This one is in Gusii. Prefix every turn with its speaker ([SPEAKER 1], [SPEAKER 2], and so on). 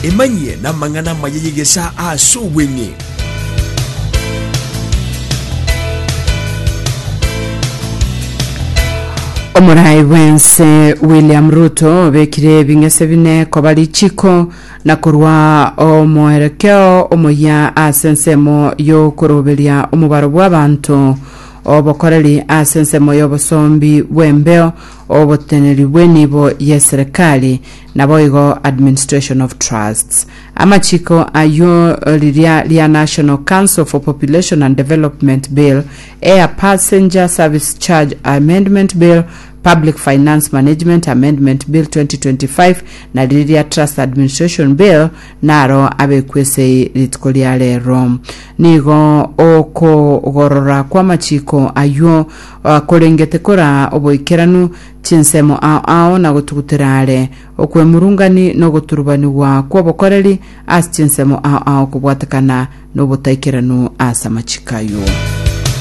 [SPEAKER 1] Emanyie namang'ana amaya y'egesaa ase obweng'e.
[SPEAKER 2] Omorai bwense William Ruto obekire ebing'ese bine koba richiko na korwa omoerekeo omoyia ase ensemo y'okoroberia omobaro bw'abanto obokoreri ase ensemo y'obosombi bw'embeo oboteneri bw'enibo y'eserekari Naboigo Administration of Trusts. Amachiko ayio riria ria National Council for Population and Development Bill, Air Passenger Service Charge Amendment Bill, Public Finance Management Amendment Bill 2025 na riria ria Trust Administration Bill naro abekwe esei rituko ria rero. Nigo okogorora kw'amachiko ayio korengete koraa oboikeranu Chinsemo ao ao na gotugutera are, okwemurungani na ogoturubanigwa kw'obokoreri ase chinsemo ao ao kobwatekana nobotaikeranu ase amachiko ayio.